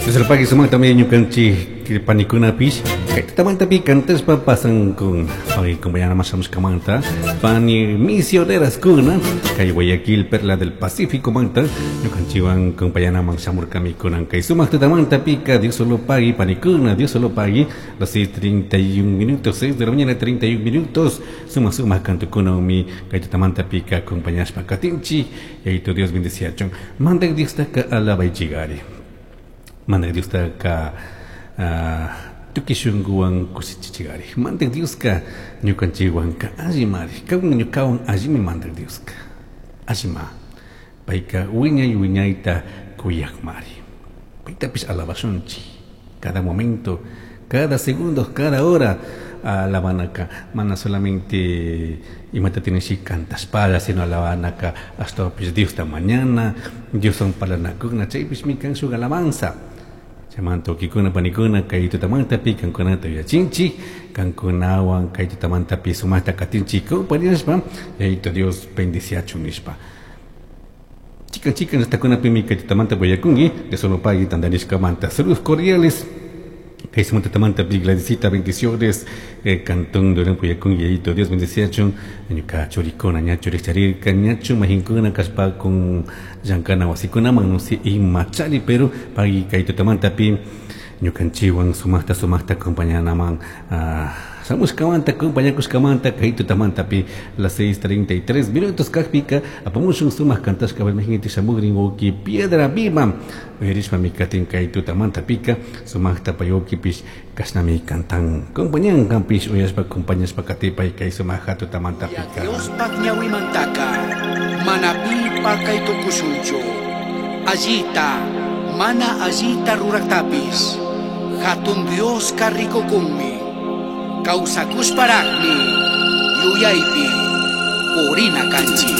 Dios sumaq también ñukanchik panikunapish kay tutamantapi cantashpa pasankun hoy compañera shamushkamanta pani misioneras kuna kay Guayaquil Perla del Pacífico manta ñukanchikwan compañeraman shamurkami kunan kay sumaq tutamantapika Dios solo pagui panikuna Dios solo pagui las 6:31 minutos, 6 de la mañana 31 minutos, sumaq sumaq kantukunawmi kay tutamantapika acompañashpa katinchik Yayito Dios bendeciachun mandak Diostaka alabaychigari Mandak Diostaka tukuy shunkuwan kushichichigari. Mandak Dioska ñukanchikwanka allimari. Kawan ñukawan allimi Mandak Dioska. Allima. Payka wiñay wiñayta kuyakmari. Paytapish alabashunchik. Cada momento, cada segundo, cada hora alabanaka. Mana solamente imata tienes cantashpalla, sino alabanaka ashtawanpish Diosta mañana, Dioswan parlanakuna, chaypishmi kan shuk alabanza. Chaymanta wawkikuna panikuna kay tutamantapi kankunata yuyachinchik, kankunawan kay tutamantapi sumaqta katinchik compañashpa, Yayito Dios bendiciachun nishpa. Chikan chikan llaqtakunapimi kay tutamanta willakunki, Dios solo pagui tantarishkamanta. Saludos cordiales. Kay sumaq tutamantapi Gladysita, bendiciones, cantón de Puyakunki, Yayito Dios bendiciachun, ñuka churikuna ña churicharirka, ñachu majinkuna kashpa llankana wasikunaman, no sé imachari, pero pagui kay tutamantapi ñukanchikwan sumaqta sumaqta acompañanaman, shamushkamanta acompañakushkamanta kay tutamantapi las 6:33 minutos kajpika apamushun sumaq kantashka balmajinti shamugrin wawki Piedra Viva uyarishpami katin kay tutamantapika sumaqta pay wawkipish kashnami kantan compañan kanpish uyashpa acompañashpa katipay kay sumaq tutamantapika. Diospaj ñawimantaka mana pipa kay tukushunchu allita mana allita ruraktapis hatun Dioska rikukunmi kawsakushparaqmi yuyaypi purina kanchik.